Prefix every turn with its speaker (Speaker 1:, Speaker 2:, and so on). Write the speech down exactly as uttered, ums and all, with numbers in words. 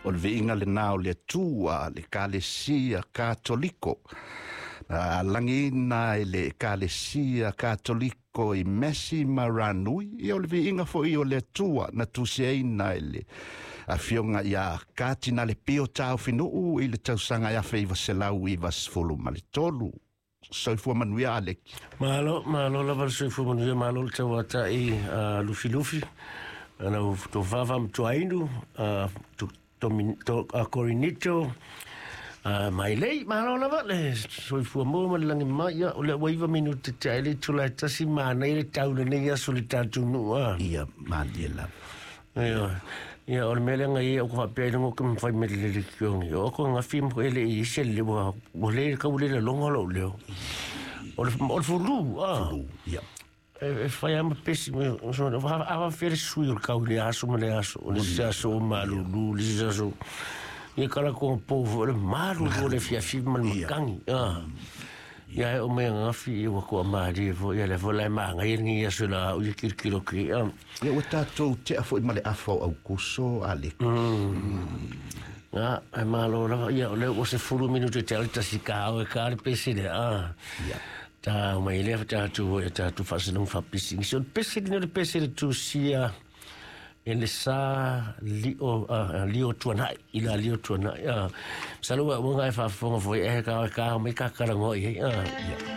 Speaker 1: O le viiga lenā o le Atua le Ekalesia Katoliko. Alagiina e le Ekalesia Katoliko i Mesi ma Ranui. Ia o le viiga foʻi o le Atua na tusiaina e le afioga ia Katinale Pio Taofinuu i le tausaga e afe iva selau iva sefulu ma le tolu. Soifua manuia Aleki.
Speaker 2: Malo, malo lava le soifua manuia, malo le tauataʻi uh, lufilufi. Ana tofafa matuainu, uh, to, to, to, uh, Corinito, uh, mailei, malo lava le soifua mua ma le lagi mai, ia, o le ua iva minute te ai le itula e tasi manai le tau lenei aso le tatou nuu a.
Speaker 1: Ia malie lava.
Speaker 2: Ia, ia o le mea lea ia o faapea i luga o ke mawhai me le le kiongi. O ko ngafi mo ele i se le wa o le ka ule le longa lo leo. O le o le fulu ah.
Speaker 1: Fulu, ia.
Speaker 2: E e whai ama pesi me so ava ava fere sui o kau le aso ma le aso o le se aso o malulu le se aso. Ia kala ko po le malulu le fia fi ma le makangi. Ah. Ia e o mea ngafi i wa kua maari fo ia le fo lai maanga i ngi ia sula o ia kirikiro ki. Ah.
Speaker 1: Ia ua tatou tea foʻi ma le afa o Aukuso Aleki.
Speaker 2: Nga, e malo lava, ia, o le ua se fulu minute te ale tasi ka au e ka le pesi le, ah.
Speaker 1: Ia.
Speaker 2: Ta mai lea tatou ia tatou faasilauga faapisi. So le pesi lenei o le pesi le tusia e le sa lio uh, lio tuanai i la lio tuanai. Uh, Masalo ua uaga e faafofoga foi e ka ka mai kakalagoa i ai. Uh.